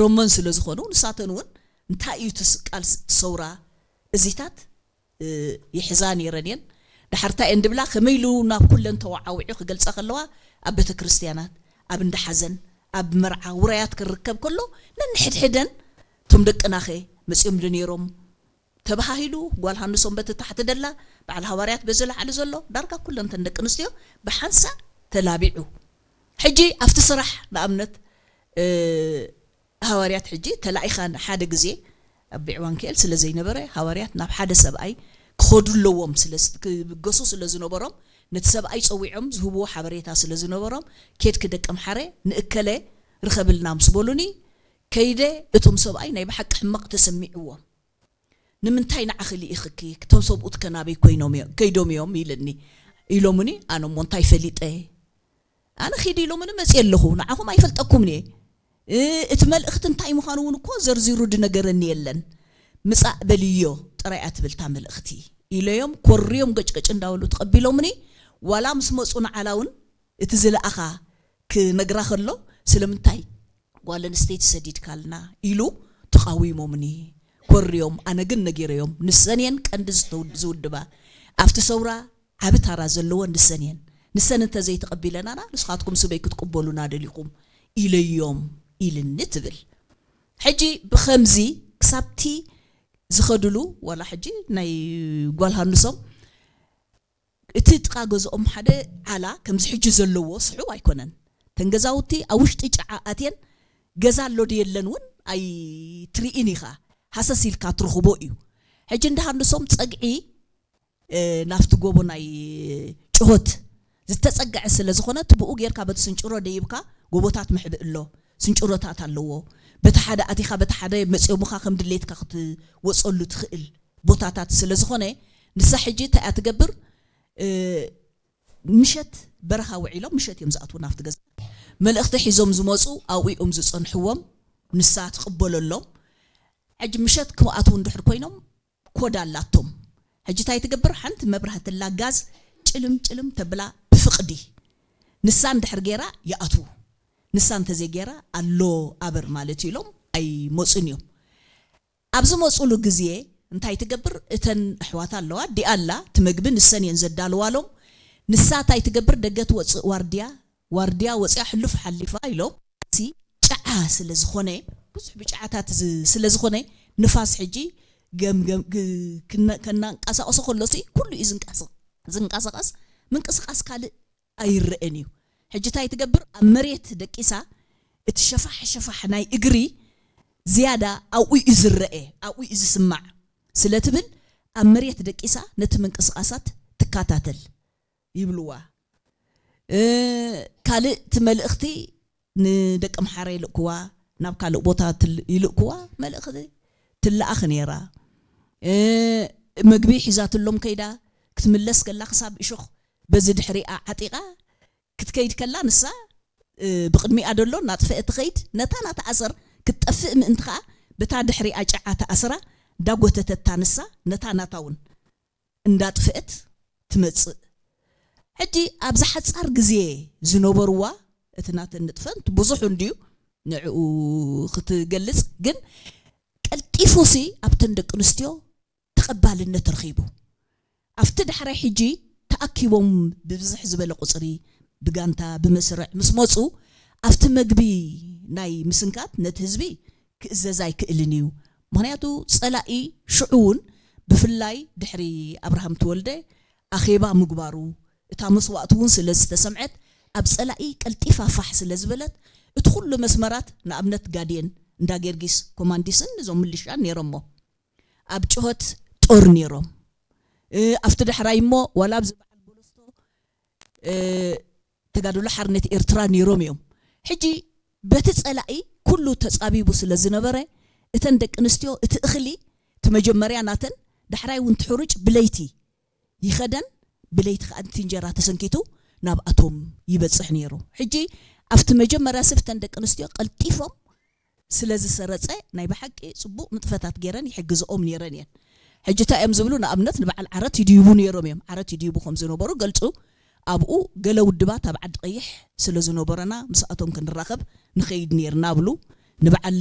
ሮሞን ስለ ዝኾኑ ንሳተን እውን እንታይ እዩ እቲ ቃል ሰውራ እዚታት ይሕዛ ነይረን እየን። ዳሕርታ እየን ድብላ ከመይ ኢሉ ናብ ኩለን ተወዓዊዑ ክገልጻ ከለዋ ኣብ ቤተ ክርስቲያናት፣ ኣብ እንዳ ሓዘን፣ ኣብ መርዓ ውራያት ክርከብ ከሎ ነንሕድሕደን እቶም ደቅናኸ መጺኦም ዶ ነይሮም ተባሃሂሉ ጓል ሃንሶም በቲ ታሕቲ ደላ በዓል ሃዋርያት በዚ ላዕሊ ዘሎ ዳርጋ ኩለን ተን ደቂ ኣንስትዮ ብሓንሳ ተላቢዑ። ሕጂ ኣብቲ ስራሕ ንኣብነት ሃዋርያት ሕጂ ተላኢኻ ሓደ ግዜ ኣብ ቢዕዋንክኤል ስለ ዘይነበረ ሃዋርያት ናብ ሓደ ሰብኣይ ክኸዱ ኣለዎም ስለ ክብገሱ ስለ ዝነበሮም ነቲ ሰብኣይ ጸዊዖም ዝህብዎ ሓበሬታ ስለ ዝነበሮም ኬድኪ ደቂ ኣምሓረ ንእከለ ርኸብልና ምስ በሉኒ ከይደ እቶም ሰብኣይ ናይ ብሓቂ ሕመቕ ተሰሚዕዎም ንምንታይ ንዓኺ ልኢኽኪ ክቶም ሰብኡት ከናበይ ኮይኖም እዮም- ከይዶም እዮም ኢልኒ ኢሎምኒ ኣነ እሞ እንታይ ፈሊጠ ኣነ ኺዲ ኢሎምኒ መፅእ ኣለኹ ንዓኹም ኣይፈልጠኩምን እየ እ- እቲ መልእኽቲ እንታይ ምዃኑ እውን እኮ ዘርዚሩ ድነገረኒ የለን ምፃእ በልዮ ጥራይ እያ ትብል እታ መልእኽቲ ኢለዮም ኮርዮም ገጭገጭ እንዳበሉ ተቐቢሎምኒ ዋላ ምስ መፁ ንዓላ እውን እቲ ዝለኣኻ ክነግራ ከሎ ስለምንታይ ጓል ኣንስተይቲ ሰዲድካልና ኢሉ ተቓዊሞምኒ ኮርዮም ኣነ ግን ነጊረዮም ንሰን እየን ቀንዲ ዝተው- ዝውድባ ኣብቲ ሰውራ ዓቢ ታራ ዘለወን ንሰን እየን ንሰን እንተዘይተቐቢለናና ንስኻትኩም ስበይ ክትቅበሉና ደሊኹም ኢለዮም ኢልኒ ትብል ሕጂ ብኸምዚ ክሳብቲ ዝኸድሉ ዋላ ሕጂ ናይ ጓል ሃንሶም እቲ ጥቓ ገዝኦም ሓደ ዓላ ከምዚ ሕጂ ዘለዎ ስሑው ኣይኮነን። እተን ገዛውቲ ኣብ ውሽጢ ጨዓ ኣትየን ገዛ ኣሎ ዶ የለን እውን ኣይትርኢን ኢኻ። ሃሰስ ኢልካ ትረኽቦ እዩ። ሕጂ እንዳ ሃንሶም ጸግዒ ናብቲ ጎቦ ናይ ጭሆት ዝተጸግዐ ስለ ዝኾነ እቲ ብኡ ጌርካ በቲ ስንጭሮ ደይብካ ጎቦታት ምሕብእ ኣሎ። ስንጭሮታት ኣለዎ። በቲ ሓደ ኣቲኻ በቲ ሓደ መጽዮምኻ ከም ድሌትካ ክትወጸሉ ትኽእል። ቦታታት ስለ ዝኾነ ንሳ ሕጂ እንታይ እያ ትገብር ምሸት በረኻ ውዒሎም ምሸት እዮም ዝኣትዉ ናብቲ ገዛ መልእኽቲ ሒዞም ዝመፁ ኣብኡ እዮም ዝፀንሕዎም ንሳ ትቕበለሎም ሕጂ ምሸት ክኣትዉ እንድሕር ኮይኖም ኮድ ኣላቶም ሕጂ እንታይ ትገብር ሓንቲ መብራህቲ ላ ጋዝ ጭልም ጭልም ተብላ ብፍቕዲ ንሳ እንድሕር ገይራ ይኣትዉ ንሳ እንተዘይገይራ ኣሎ ኣበር ማለት ኢሎም ኣይመፁን እዮም ኣብ ዝመፁሉ ግዜ እንታይ ትገብር እተን ኣሕዋታ ኣለዋ ዲኣላ እቲ መግቢ ንሰን እየን ዘዳልዋሎም ንሳ እንታይ ትገብር ደገ ትወፅእ ዋርድያ ዋርድያ ወፅያ ሕሉፍ ሓሊፋ ኢሎም ሲ ጨዓ ስለ ዝኾነ ብዙሕ ብጨዓታት ዝ- ስለ ዝኾነ ንፋስ ሕጂ ገምገም ግ- ክነ- ከናንቀሳቀሶ ከሎ ሲ ኩሉ እዩ ዝንቀስ- ዝንቀሳቀስ ምንቅስቃስ ካልእ ኣይረአን እዩ ሕጂ እንታይ ትገብር ኣብ መሬት ደቂሳ እቲ ሸፋሕ ሸፋሕ ናይ እግሪ ዝያዳ ኣብኡ እዩ ዝረአ ኣብኡ እዩ ዝስማዕ ስለ ትብል ኣብ መሬት ደቂሳ ነቲ ምንቅስቃሳት ትከታተል ይብልዋ ካልእ እቲ መልእኽቲ ንደቂ ኣምሓራ ይልእክዋ ናብ ካልእ ቦታ ይልእክዋ መልእኽቲ ትለኣኽ ነይራ መግቢ ሒዛትሎም ከይዳ ክትምለስ ከላ ክሳብ እሾኽ በዚ ድሕሪኣ ዓጢቓ ክትከይድ ከላ ንሳ ብቕድሚኣ ደሎ እናጥፍአ ትኸይድ ነታ ናታ ኣሰር ክትጠፍእ ምእንቲ ኸዓ በታ ድሕሪኣ ጨዓ ተኣስራ እንዳጎተተታ ንሳ ነታ ናታ እውን እንዳጥፍአት ትመጽእ ሕጂ ኣብዚ ሓጻር ግዜ ዝነበርዋ እቲ ናተን ንጥፈን ብዙሕ እንድዩ ንዕኡ ክትገልጽ ግን ቀልጢፉ ሲ ኣብተን ደቂ ኣንስትዮ ተቐባልነት ረኺቡ ኣብቲ ዳሕራይ ሕጂ ተኣኪቦም ብብዝሕ ዝበለ ቁፅሪ ብጋንታ ብመስርዕ ምስ መፁ ኣብቲ መግቢ ናይ ምስንካት ነቲ ህዝቢ ክእዘዝ ኣይክእልን እዩ ምክንያቱ ፀላኢ ሽዑ እውን ብፍላይ ድሕሪ ኣብርሃም ተወልደ ኣኼባ ምግባሩ እታ መስዋእቲ እውን ስለ ዝተሰምዐት ኣብ ፀላኢ ቀልጢፋ ፋሕ ስለ ዝበለት እቲ ኩሉ መስመራት ንኣብነት ጋድየን እንዳ ጌርጊስ ኮማንዲስን እዞም ምልሻን ነይሮሞ ኣብ ጭሆት ጦር ነይሮም ኣብቲ ዳሕራይ እሞ ዋላ ኣብዚ በዓል ቦለስቶ ተጋድሎ ሓርነት ኤርትራ ነይሮም እዮም ሕጂ በቲ ጸላኢ ኩሉ ተጻቢቡ ስለ ዝነበረ እተን ደቂ ኣንስትዮ እቲ እኽሊ እቲ መጀመርያ ናተን ዳሕራይ እውን ትሕሩጭ ብለይቲ ይኸደን ብለይቲ ከዓ እቲ እንጀራ ተሰንኪቱ ናብኣቶም ይበፅሕ ነይሩ ሕጂ ኣብቲ መጀመርያ ስብተን ደቂ ኣንስትዮ ቀልጢፎም ስለ ዝሰረጸ ናይ ብሓቂ ጽቡቕ ንጥፈታት ገይረን ይሕግዝኦም ነይረን እየን። ሕጂ እንታይ እዮም ዝብሉ ንኣብነት ንበዓል ዓረት ይድይቡ ነይሮም እዮም። ዓረት ይድይቡ ከም ዝነበሩ ገልጹ። ኣብኡ ገለ ውድባት ኣብ ዓዲ ቀይሕ ስለ ዝነበረና ምስኣቶም ክንራኸብ ንኸይድ ነይርና ብሉ። ንበዓል